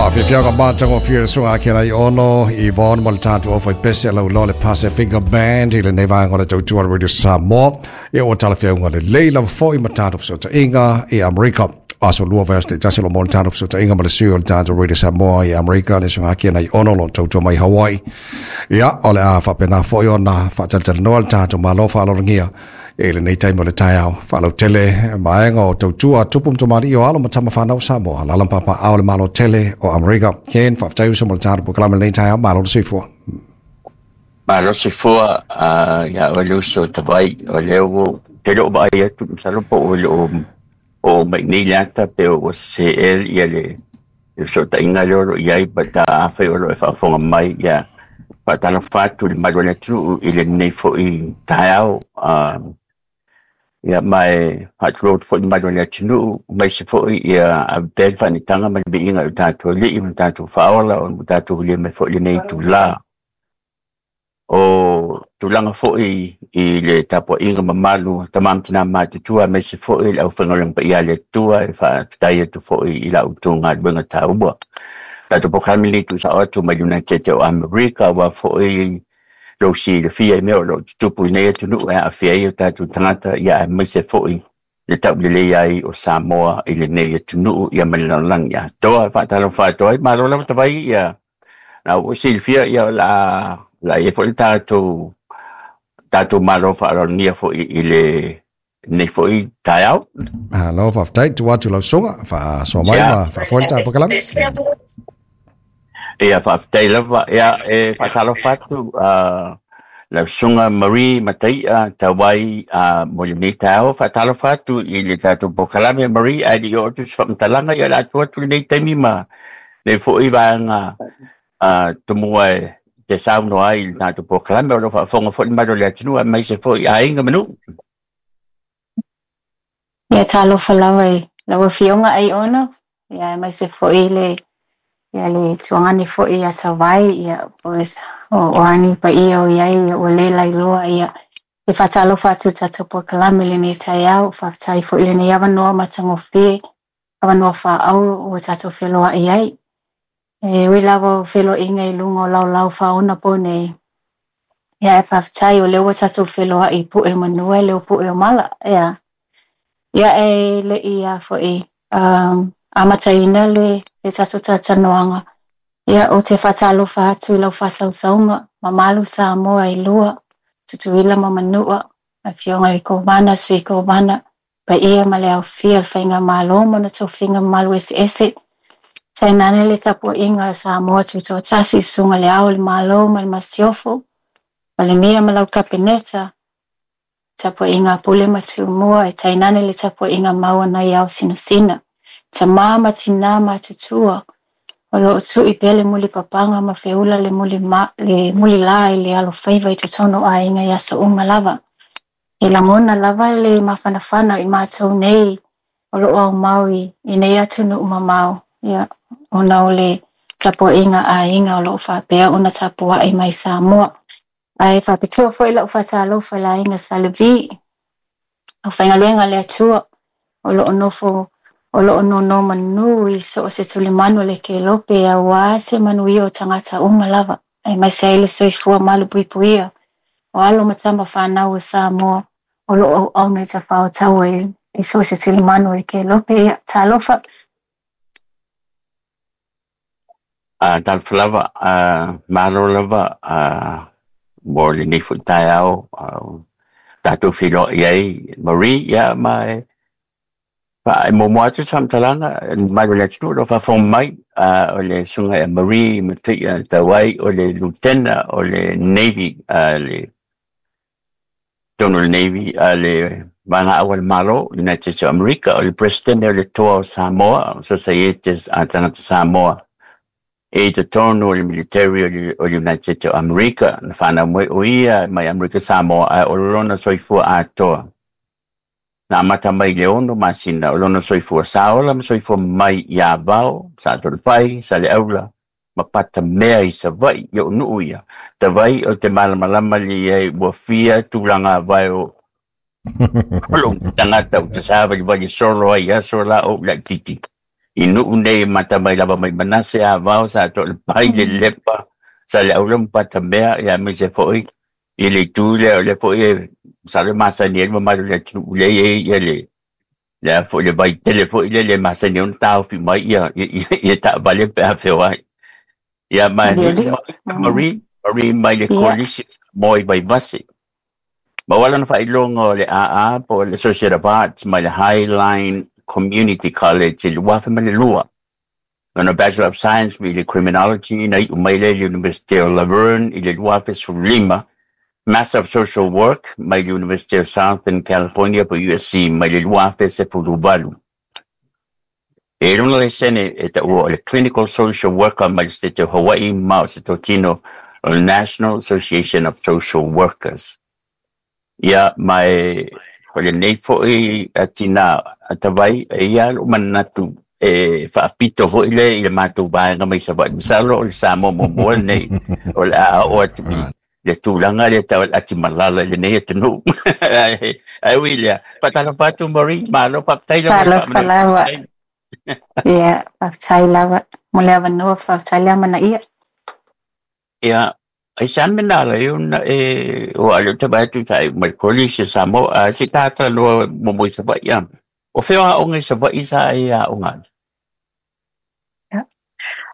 Faafiafiaga matagofie le susuga Ken Aiono, Yvonne ma le tatou aufaipese lauiloa le Pasifika Band i lenei vaega o le tautua a le Radio Samoa. Ia ua talafeauga lelei lava foi ma tatou fesootaiga i Amerika. Aso lua vaiaso taitasi o lo o maua le tatou fesootaiga ma le sui o le tatou Radio Samoa i Amerika, le susuga Ken Aiono o lo o tautua mai Hawaii. Ia, o le a faapena foi ona faatalatalanoa le tatou Malo faaaloalogia i lenei taimi o le taeao. Faalautele vaega o tautua a tupu ma tamalii o alo ma tama fanau o Samoa, alaala ma papaaao o le Malo tele o Amerika. Ken, faafetai uso mo le tatou polokalame i lenei taeao, malo le soifua. Malo le soifua ia oe le uso Tavai, o lea ua ou te le o vaai atu masalo po ua le o oo mai nei le ata pe ua sese ea ia le fesootaiga lea o lo o i ai but afai o lo o e faafofoga mai ia faatalofa atu i le malu o le atunuu i lenei foi taeao. Ia ma e faatulou atu foi i le malu o le atunuu aemaise foi ia ave pea le faanetaga ma le viiga i lo tatou Alii ma lo tatou Faaola ona ua tatou vilia mai foi i lenei itula. O tulaga foi i le tapuaiga mamalu a tama ma tina matutua aemaise foi le aufaigaluega paia a le Atua e faafetai atu foi i la outou galuega taua. Tatou polokalame lenei tuusao atu mai United States o Amerika aua foi lou silafia i mea o lo o tutupu i nei atunuu e aafia ai o tatou tagata ia aemaise foi le taulelei ai o Samoa i lenei atunuu ia ma le lalolagi atoa. E faatalofa atu ai, malo lava Tavai ia Na ua silafia ia o le a o le a i ai foi le tatou tatou malo faaaloalogia foi i le lenei foi taeao. Malo faafetai, tuu atu lau susuga, faasoa mai ma faafoe le tatou polokalame. Ia faafetai lava, ia e faatalofa atu lau susuga Marie Mataia Tauai mo lenei taeao. Faatalofa atu i le tatou polokalame Marie, ae le i oo atu se faamatalaga, ia o le a tuu atu lenei taimi ma lenei foi vaega tomua e te saunoa ai i le tatou polokalame o lo o faafofoga foi le mamalu o le atunuu aemaise foi aiga ma nuu. Ia talofa lava i lau Afioga Aiono, ia aemaise foi le ia le tuagane foi ia Tavai, ia po o a ni paia o i ai ia ua le lailoa ia e faatalofa atu i le tatou polokalame i lenei taeao, faafetai foi i lenei avanoa matagofie avanoa faaauro ua tatou feloai ai. E ui lava o feloaiga i luga o laolao faaonapo nei, ia ae faafetai o lea ua tatou feloai i pue o manu ae le o pue o mala, ea. Ia e le i a foi amataina le, le tatou talatalanoaga, ia ou te faatalofa atu i lau faasausauga, mamalu Samoa e lua, Tutuila ma Manua, Afioga i le Kovana, Sui Kovana, paia ma le aofia o le Faigamalo ma ona tofiga mamalu eseese, tainane le tapuaiga a Samoa Tutoatasi, Susuga i le Ao o le Malo ma le Masiofo, Palemia ma lau Kapeneta, tapuaiga a Pule ma Tumua, e tainane le tapuaiga mau a nai ao sinasina, tama ma tinā matutua, o lo o tui pea le mulipapaga ma feula le muli ma, le mulilā i le alofaiva i totonu o aiga i aso uma lava. E lagona lava le mafanafana o i matou nei o lo o aumau i i nei atunuu mamao, ia, ona o le tapuaiga a aiga o lo o faapea ona tapuai mai Samoa. Ae faapitoa foi lau faatalofa i le aiga Sa Levi, aufaigaluega a le Atua o lo o nofo o lo o nonomanu i so o se tulimanu o le kelope aua se manuia o tagata uma lava, aemaise ai le soifua malupuipuia o alo ma tama fanau o Samoa o lo o auauna i tafaotaua i so o se tulimanu o le kelope. Ia, talofa! Talofa lava, malo lava mo lenei foi taeao tatou feiloai ai Marie, ia ma e muamua atu se faamatalaga i le mamalu o le atunuu o lo o faafofoga mai, o le Susuga ia Marie Mataia Tauai o le Lutena o le Navy, le totonu o le Navy a le Vaega Aua le Malo, United States of America, o le President o le Toa o Samoa, Societes a Tagata Samoa i totonu o le military o le United States of America. Na whanau mai o ia mai Amerika Samoa ae o lona soifua atoa. Na amata mai i le 6 masina o lona soifua sa ola ma soifua mai i Avao, Sato'olefai, Saleaula ma Patamea i Savaii i o'u nuu ia. Tavai o te malamalama le i ai ua fia tulaga vae o lou tagata ou te savalivali solo ai i aso la o ou laitiiti. I nuu nei mata mai lava mai Manase a vao sa to le pai le lepa sa le aula patamea ia me se foi i le tu le o le foi e sa le masani e mamalu le atunuu le e ia le le a foi le vai tele foi le le masani ona taofi mai ia ia taavale pe a feoai. Ia ma Aliali. Marie Marie mai le Ia. Kolisi mo i Vaivase. Ma wala na faailoga o le AA po o le Associate of Arts mai le Highline Community College i le 2002. Lona Bachelor of Science i le Criminology na iu mai lea i le University o Laverne i le 2015. Master of Social Work mai le University of Southern California po USC mai le 2018. E lona laisene e taua o le Clinical Social Worker mai le State of Hawaii ma o se totino o le National Association of Social Workers. Ia mai o lenei foi atina atavai e ia lo manatu e faapito foi le i le matou vaega mai Savaii. Masalo o le Samoa muamua lenei o le a oo atu i le tulaga le tau o le atimalala i lenei atunuu. Ai ui lea, faatalofa atu Marie, malo faafetai lava i le Talofa lava. faamanaia. Ia, faafetai lava. Mo le avanoa, faafetai le amanaia. Ia, ai sa me nā lai ona e o a leo te vai atu tai mai kolisi Samoa, a se tāta loa mo mo i Savaii a. O whea a onga i Savaii sa e a onga. Ia.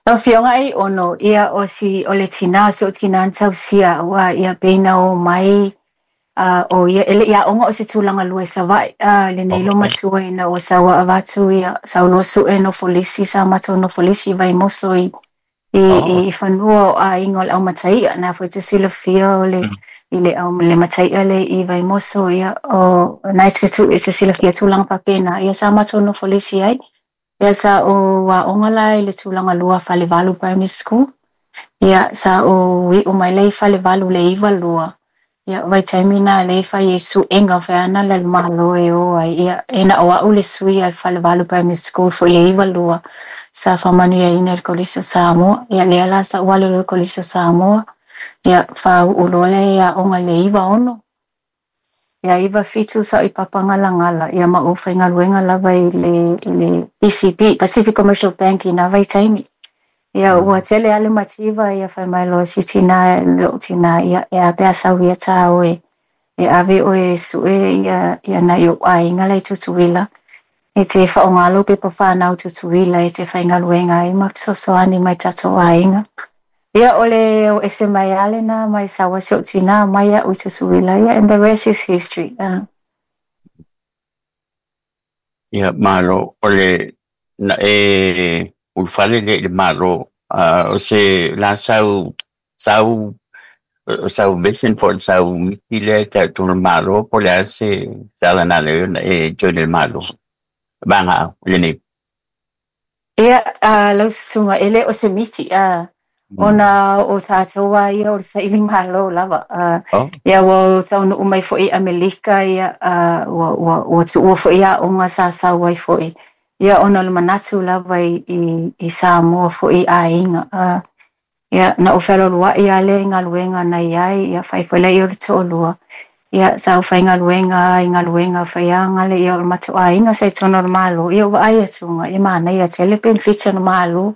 Lau Afioga ai ono, ia o si o le tinā, o si o tinā na tausia, ua ia peina o mai, o ia, ele ia onga o se tūlanga lua i Savaii, lenei lo matua ina ua saua avatu ia, sauloa sue no folisi, sa matou no folisi Vaimoso i i fanua o aiga o le aumataia, na foi te silafia o le i le au le mataia le i Vaimoso ia o nai te tu e te silafia tūlanga faapena ia sa matou nofo lisi ai. Ia sa o aoga la i le tulaga lua Falevalu Primary School. Ia sa o iu mai le i Falevalu le 92. Ia vaitaimi na le fai e suega fai ana le malo e o ai. Ia e na o au le sui a Falevalu Primary School foi le 92. Sa faamanuiaina i le Kolisi o Samoa. Ia lea la sa ou alu i le Kolisi o Samoa. Ia fāu'u loa le aoga i le 96. Ia 97 sa ou i Papagalagala. Ia ma ou faigaluega lava i le PCB, Pacific Commercial Bank i na vaitaimi. Ia ua tele lava le mativa ia fai mai loa si tinā lo'u tinā ia e a pe a sau ia tā oe e ave oe e su'e ia ia nai o'u aiga la i Tutuila e te fa'aogā lou pepa whānau Tutuila e te faigaluega ai ma fesoasoani mai tatou aiga. Ia o le o ese mai lava lenā mai sau ai si o'u tinā mai a'u i Tutuila ia and the rest is history. Ia malo o le na e ulufale le i le malo o se la sau sau o sau vision po o sau miti lea e tau le malo po o le a se se ala na le na e join le malo vaega au lenei. Ia, lau susuga, e le o se miti, ona o tatou lava ia o le saili malo lava. Ia ua taunuu mai foi i Amelika, ia, ua tuua foi aoga sa sau ai foi. Ia ona o le manatu lava i Samoa foi i aiga. Ia, na ou fealualuai lava lea i galuega na i ai, ia fai foi lea o le toalua. Ia, sa ou faigaluega i galuega faiaga le ia o le matou aiga sa i totonu o le Malo. Ia ua vaai atuga, ia manaia tele penefiti o le Malo.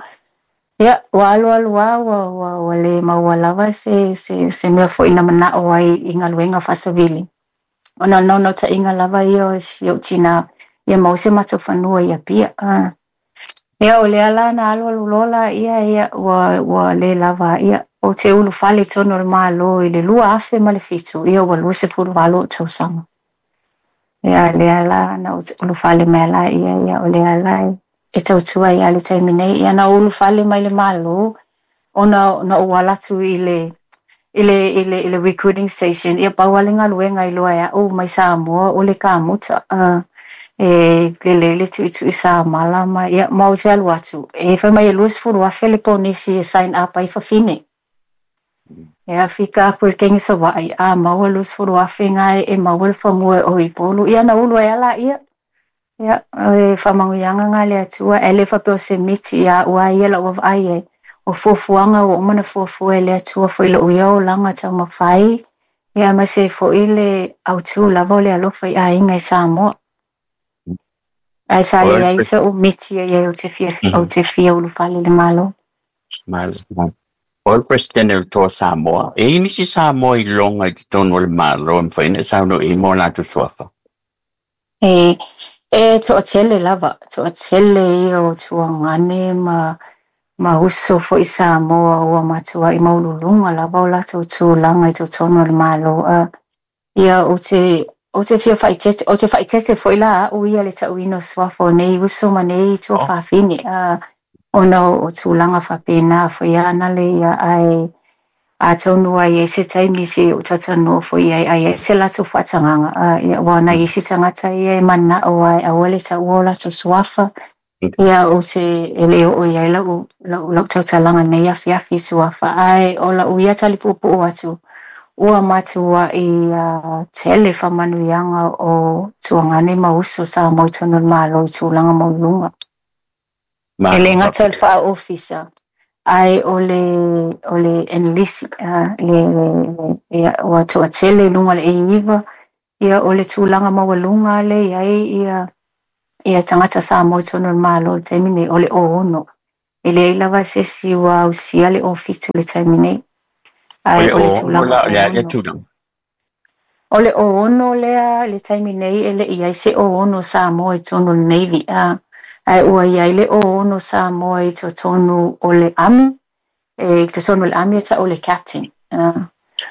Ia, ua alu alu lava ua le maua lava se mea foi na mana'o ai i galuega faasavili. Ona o le naunautaiga lava ia o si ou tinā, ia maua se matou fanua i Apia. Ia o lea la na alu alu loa laia ia ua le lava ia ou te ulufale i totonu o le Malo i le 2007 ia ua 28 o'u tausaga. Ia lea la na ou ulufale mai ai laia ia o lea la e tautua ai lava i le taimi nei. Ia na ou ulufale mai le Malo ona na ou ala atu i le recruiting station ia pau lava le galuega i loa e a'u mai Samoa o le kamuta e lelei le tu'itu'i samala ma ia ma ou te alu atu e fai mai e 20,000 le ponisi e sign up ai fafine. Ia fika aku i le kegi Savaii a maua 20,000 gae e maua le fanua e o i Upolu ia na ulu ai lava laia. Ia o le faamanuiaga ga le Atua ae le faapea o se miti ia a'u a ia la'u vaavaai ai. O fuafuaga ua uma ona fuafua e le Atua foi i lo'u ia olaga taumafai ia aemaise ai foi le autū lava o le alofa i aiga i Samoa. Ae sa O le leai so'u miti e iai ou te fia ulufale i le Malo. Malo. O le Presidente o le Toa Samoa. E i ai nisi Samoa i loga i totonu o le Malo e mafai ona e saunoa i ai ma o latou suafa? E e to'atele lava, to'atele ia o tuagane ma uso fo'i Samoa ua matua'i maualuluga lava o latou tulaga i totonu o le Malo. Ia ou te fia faaeteete, ou te faaeteete foi la a'u ia le ta'uina o suafa o nei uso ma nei tuafafine, ona o tulaga faapena foi ana le ia, ae atonu ai i ai se taimi se'i ou talatalanoa foi ai, ai ai se latou faatagaga. Ia ua nai isi tagata ia e mana'o ai aua le ta'ua o latou suafa. Ia ou te e lē oo i ai la'u tautalaga nei afiafi i suafa, ae o la'u ia talipu'upu'u atu ua matua'i tele faamanuiaga o tuagane ma uso Samoa i totonu o le Malo i tulaga maualuluga. E lē Malo gata o le faafetai. fa'aofisa, ae o le enlist, le ia ua to'atele i luga o le A9. Ia o le tulaga maualuga lea e i ai ia tagata Samoa i totonu o le Malo i le taimi nei o le 6. E leai lava se isi ua ausia le 7 i le taimi nei, O ae le o le 6 tulaga la o le a lea 6. tulaga? O le 6 lea i le taimi nei e le'i ai se 6 Samoa i totonu o le Navy, ae ua i ai le 6 Samoa i totonu o le Army, e i totonu o le Army e ta'u le Captain.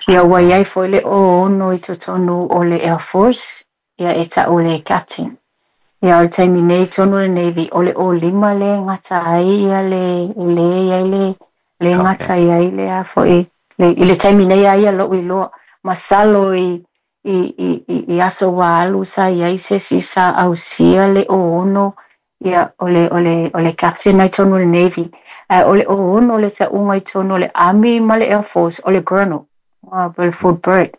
Ia ua i ai foi le 6 i totonu o le Air Force, ia e ta'u le Captain. Ia o le taimi nei i totonu o le Navy, o le 5 lea e gata ai ia le le i ai le le gata Captain. i ai le a fo'i le, i le taimi nei a ia lo'u iloa masalo i aso ua alu sa i ai se isi sa ausia le 6, ia o le Captain ai totonu o le Navy, ae o le 6 le ta'uga i totonu o le Army ma le Air Force o le Colonel, po o le Full Bird.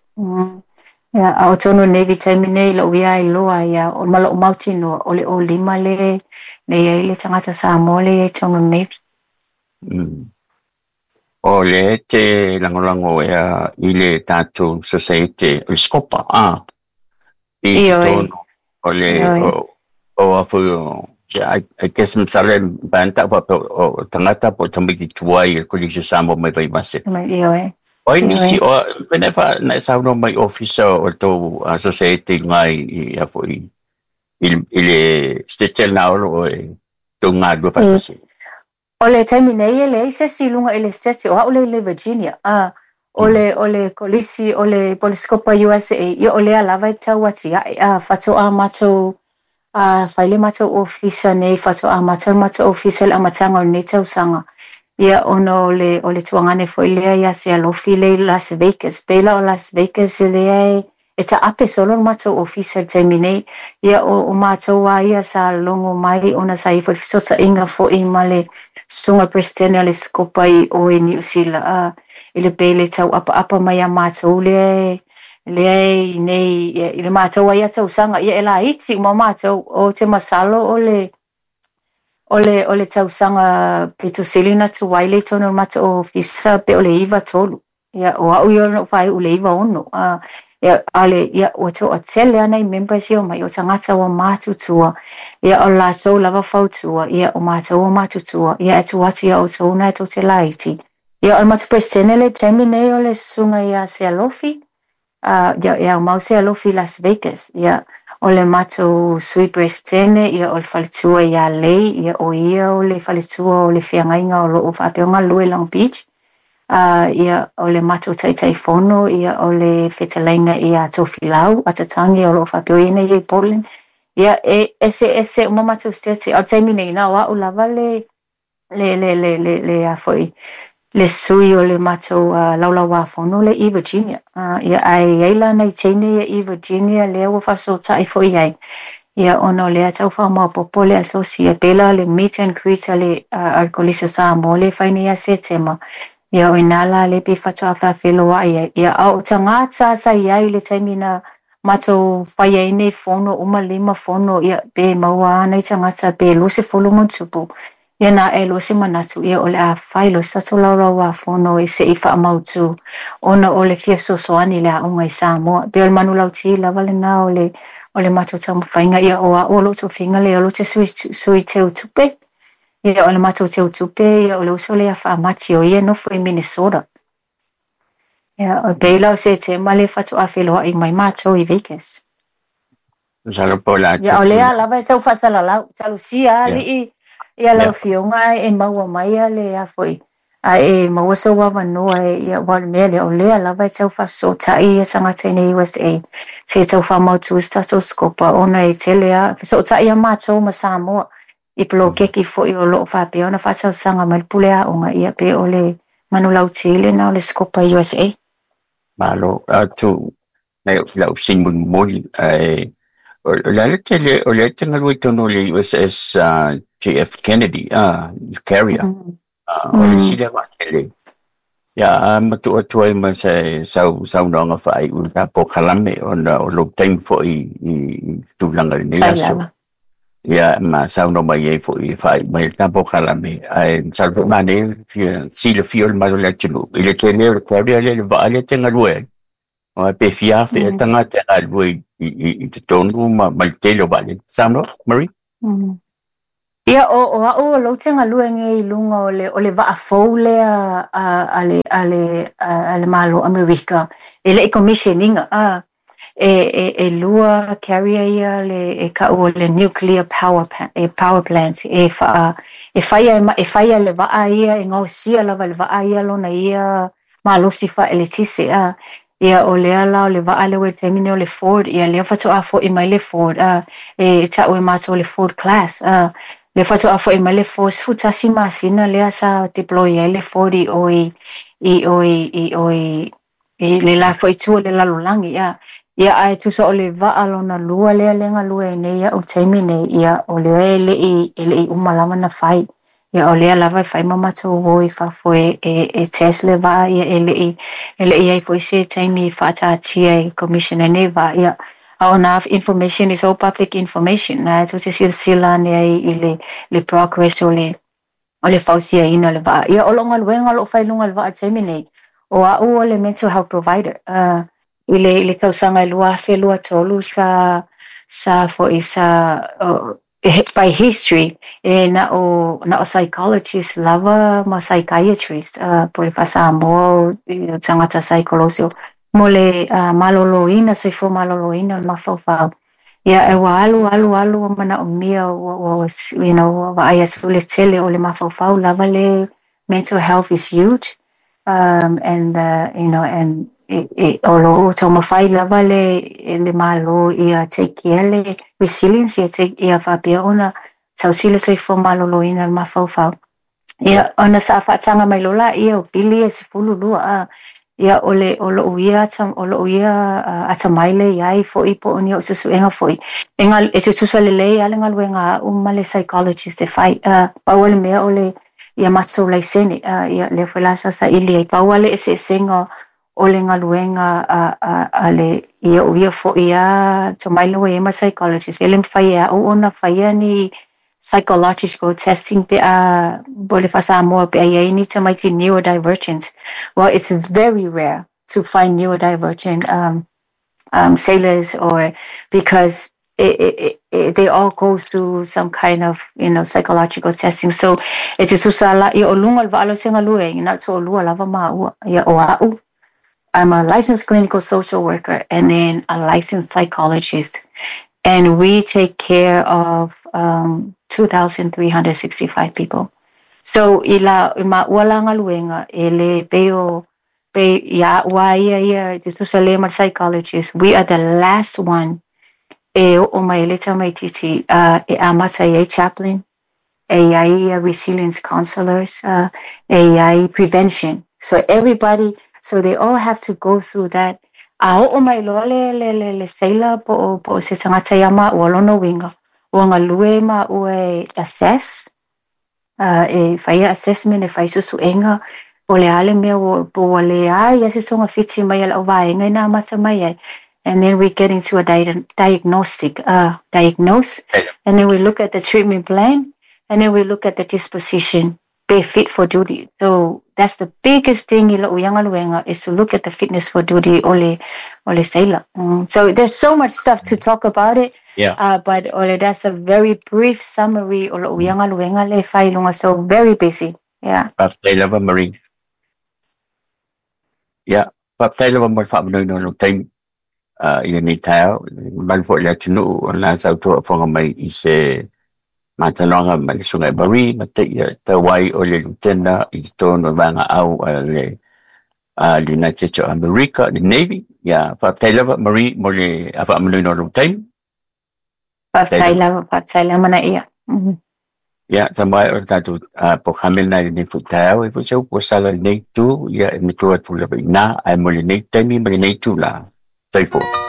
Ia, a o totonu o le Navy taimi nei la'u ia iloa ia o ma lo'u mautinoa o le 5 le i ai le tagata Samoa le i ai totonu o le Navy. O lea e te lagolago ea i le tatou society o le Scopa i Ioe, totonu o le ioe. o a foi o I guess masalo e mafai ona ta'u faapea o tagata po o tamaiti tuai i le Kolisi o Samoa mai Vaivase. Ioe, O ai ioe. nisi o pei na e saunoa mai ofisa o le tou society i luga i a foi i le Setete lena o lo o e tou galulue faatasi. O le taimi nei e leai se isi i luga i le Setete o a'u lea i le Virginia. O le o le kolisi o le Polescopa USA, ia o lea lava e tau atia'e fa'ato'a matou fai le matou ofisa nei, fa'ato'a amata le matou ofisa i le amataga o lenei tausaga. Ia ona o le tuagane foi lea ia Sealofi le i Las Vegas. Pei la o Las Vegas lea e ta'ape solo le matou ofisa i le taimi nei. Ia o matou a ia sa logo mai ona sa i ai foi le feso'ota'iga fo'i ma le susuga Peresetene o le Sikopa i o i Niu Sila, i le pe le tau'apa'apa mai iā matou lea e i nei i le matou ai ia tausaga ia e laiti uma matou o te masalo o le tausaga pito sili ona tuai le i totonu o le matou ofisa pe o le 93. Ia o a'u ia na ou faai'u i le 96. Ia a le ia ua to'atele a nai members ia omai o tagata ua matutua. Ia o latou lava fautua, ia o matou ua matutua, ia e tuu atu iā ʻoutou na e tou te laiti. Ia o le matou Peresetene le taimi nei o le susuga iā Sealofi, ia e aumau Sealofi i Las Vegas. Ia o le matou Sui Peresetene, ia o le faletua iā Lei, ia o ia o le faletua o le feagaiga o lo'o faapea ona galulue i Long Beach. Ia o le matou Taitaifono, ia o le fetalaiga iā Tofilau Atatagi o lo'o faapea o ia nei i Portland. Ia e eseese uma matou Setete, a o le taimi nei na o a'u lava le a fo'i le sui o le matou laulauāfono le i Virginia. Ia ae i ai la nai teine ia i Virginia lea ua fa'afeso'ota'i fo'i ai, ia ona o lea tau fa'amaopopo le asosi pei la le meet and greet a le Kolisi o Samoa le fai nei ia Setema. Ia o inā la le pe fa'ato'a fa'afeloa'i ai. Ia a o tagata sa i ai i le taimi na matou fai ai nei fono uma lima fono, ia pe maua ana i tagata pe 20 ma ona tupu. Ia na a'e loa se manatu, ia o le a fai loa se tatou laulauāfono e se'i fa'amautū ona o le fia fesoasoani i le a'oga i Samoa. Pei o le manulauti lava lenā o le o le matou taumafaiga. Ia o a'u o lo'u tofiga lea o lou te sui teutupe. Ia o le matou teutupe, ia o le uso lea Faamati o ia e nofo i Minnesota. Ia o pei la o Setema le faatoa feloa'i mai matou i Vegas. Masalo po o le a Ia o lea lava e tau faasalalau talosia ali'i ia lau afioga ae e maua mai a le a fo'i ae e maua sou avanoa e ia ua o le mea lea o lea lava e tau faasoota'i ia tagata i nei USA se i tau faamautu se tatou scopa ona e tele a fesoota'i a matou ma Samoa i poloketi fo'i o lo'o faapea ona faatausaga mai le pule a'oga ia pe o le manulauti lena o le scopa USA. Malo atu nai lau fesili mulimuli ae o le a le tele o lea e te galue i totonu o le USS JF Kennedy carrier. O le isi lea vaatele ia a matuu atu ai ma se saunoaga faaiu i le polokalame ona o lou taimi foi i tulaga i lenei aso. Ia ma saunoa mai ai foi e faaiu mai le ta polokalame ae masalo foi manaia le silafia o le mamalu o le atunuu i le tele o le carrier lea le vaa lea e te galue ai. Aua pe fia afe ea tagata e galue i totonu ma le tele o vaalele. Saunoa, Marie? Ia o a'u o lou te galue nei i luga o le vaa fou lea a le Malo Amerika e le'i commission ina e lua carrier ia le e ka'u o le nuclear power plant e faa e faia le vaa ia e gaosia lava e le vaa ia lona ia malosi faaeletise a. Ia o lea la o le vaa lea ua i le taimi nei o le Ford, ia lea faatoa fo'i mai le Ford e ta'u e matou o le Ford class a. Lea faatoa fo'i mai le Ford 11 masina lea sa deploy ai le Ford i o i i o i i o i i le la fo'i itu o le lalolagi a. Ia ae tusa o le vaa lona lua lea le galue ai nei a'u taimi nei, ia o lea e le'i uma lava na fai. Ia o lea lava e fai ma matou o i fafo e test le vaa, ia e le'i ai foi se taimi faataatia e commission ai nei vaa. Ia a o na information is all public information na e tou te silasila ane ai i le progress o le fausiaina o le vaa. Ia o lo'u galuega o lo'o fai i luga o le vaa taimi nei, o a'u o le mental health provider i le tausaga e 2023 sa fo'i sa by history e na o psychologist lava ma psychiatrist po le faa-Samoa o tagata saikolosi mo le maloloina soifua maloloina o le mafaufau. Ia e ua alu alu alu manaomia ua you know ua vaai atu le tele o le mafaufau lava le mental health is huge and you know and o lo taumafai lava le malo ia take care le resilience ia take ia faapea ona tausi le soifua maloloina o le mafaufau. Ia ona sa faataga mai loa laia o pili e 12 a. Ia o lo'u ia atamai le iai fo'i po o ni o'u suesuega fo'i e tutusa lelei a le galuega a'u ma le psychologist e fai pau o le mea o le ia matou laisene ia lea foi la sa saili ai pau a le eseesega o le galuega a le ia o ia fo'i a tomai le ua iai ma psychologist e le mafai e a'u ona faia ni psychological testing pe a po le faa-Samoa pe a iai ni tamaiti neurodivergent. Well, it's very rare to find neurodivergent sailors or because they all go through some kind of, you know, psychological testing. So e tutusa la ia o luga o le vaa lea ou te galue ai na o le to'alua lava maua. Ia o a'u, I'm a licensed clinical social worker and then a licensed psychologist. And we take care of 2,365 people. So i la maua la galuega e le pei o pe ia ua ia ia tutusa le ma psychologist. We are the last one e o'o mai le tamaititi e amata ai chaplain, e iai resilience counselors, e iai prevention. So everybody, so they all have to go through that. A o'o mai loa le sailor po o se tagata ia maua lona uiga ua galue maua e assess, e faia assessment e fai suesuega o le a le mea po ua leai a se togafiti mai a le auvaega ina amata mai ai. And then we get into a diagnostic, diagnose, and then we look at the treatment plan, and then we look at the disposition, be fit for duty. So That's the biggest thing i lo'u ia galuega, is to look at the fitness for duty o le sailor. So there's so much stuff to talk about it. But o le that's a very brief summary o lo'u ia galuega le fai luga. So very busy. Yeah. Faafetai lava, Marie. Ia, faafetai lava mo le faamanino o lou taimi i lenei taeao, mamalu foi le atunuu o lena sautoa fofoga mai i se matanoaga ma le Susuga Marie Mataia Tauai, o le Lutena i totonu o le Vaega Au a le United States of America, le Navy. Ia, faafetai lava, Marie, mo le faamanino o lou taimi. Faafetai lava, faafetai le amanaia. Ia, sa mai o le tatou polokalame lena i lenei foi taeao e foi se upu ua sala i lenei itu, ia e matua atu lava i ina, ae mo lenei taimi ma lenei itulā, soifua.